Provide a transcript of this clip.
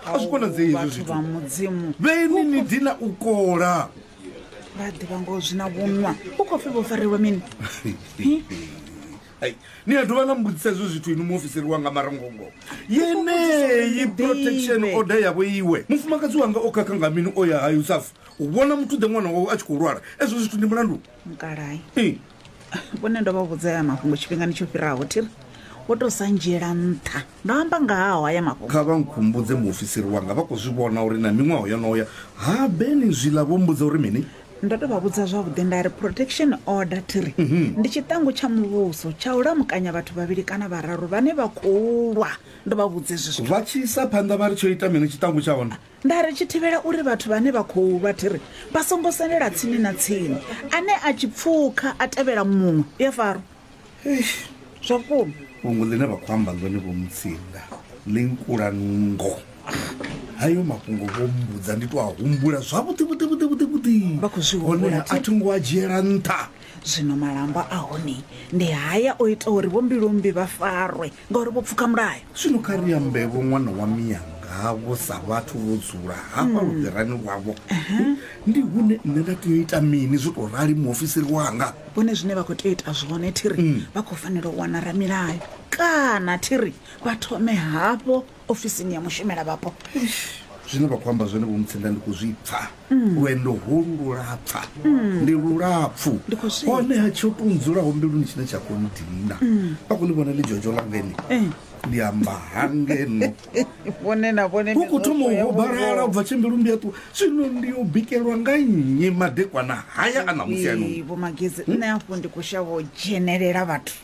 A zwi konadzei hezwo Vhathu zwithu. vha Mudzimu. Vheni ni dina u kola. Vha ḓivha ngoho zwi na vhunwa. U khou pfi vho fariwa mini? Ai, ni a dovha na mbudzisa hezwo zwithu inwi muofisiri wanga marangongo. Yeneyi protection order yavho iwe. Mufumakadzi wanga o khakha nga mini o ya ha Yusuf u vhona muthu ḓe ṅwana wawe a tshi khou lwala. Ezwo zwithu ndi mulandu. Mukalai. Ee. Vhone ndo vha vhudza ya mafhungo tshifhingani tsho fhiraho thiri vho tou sa ndzhiela nṱha. Ndo amba nga haho haya mafhungo. Kha vha nkhumbudze muofisiri wanga vha khou zwi vhona uri na miṅwaha yo no ya ha Beni zwiḽa vho mbudza uri mini? Ndo tou vha vhudza zwavhuḓi nda ri protection order thiri ndi tshiṱangu tsha muvhuso tsha u lamukanya vhathu vhavhili kana vhararu vhane vha khou lwa. Ndo vha vhudza hezwi zwithu. Vha tshi isa phanḓa vha ri tsho ita mini tshiṱangu tsha hone? Nda ri tshi thivhela uri vhathu vhane vha khou lwa thiri vha songo sendela tsini na tsini. Ane a tshi pfukha a tevhela muṅwe u a farwa. Eish. Zwa vhukuma. Fhungo ḽine vha khou amba ḽone Vho Mutsinda ḽi nkula nungo. Hayo mafhungo vho mmbudza ndi tou a humbula zwavhuḓi vhuḓi vhuḓi vhuḓi vhuḓi. Vha khou zwi humbula, Honeha a thi ngo a dzhiela nṱha. Zwino malamba a hone ndi haya o ita uri Vho Mbilumbi vha farwe ngauri vho pfuka mulayo. Zwino kha ri ambe-vho ṅwana wa miyanga-vho sa vhathu vho dzula hafha lufherani lwavho. Ndi hune nṋe nda tea u ita mini zwo tou rali muofisiri wanga? Vhone zwine vha khou tea u ita zwone thi ri vha khou fanela u wana ramilayo kana thi ri vha thome hafho ofisini ya mushumela vhapo. Zwine vha khou amba zwone Vho Mutsinda ndi khou zwi pfa. Lwendo holu lwo lapfa, ndi lulapfu. Ndi khou zwi pfa. Honeha tsho tou ndzulaho mbiluni tshine tsha khou nndina, vha khou ḽi vhona ḽidzhodzho ḽanga heḽi? Ndi amba hangeno. Vhone na vhone Hu khou thoma u hobalala u bva tshe mbilu mbi ya ṱuwa. Zwino ndi yo bikelwa nga nnyi madekwana haya a ṋamusi ano? Vho Magezi, nṋe hafho ndi khou shavha u dzhenelela vhathu.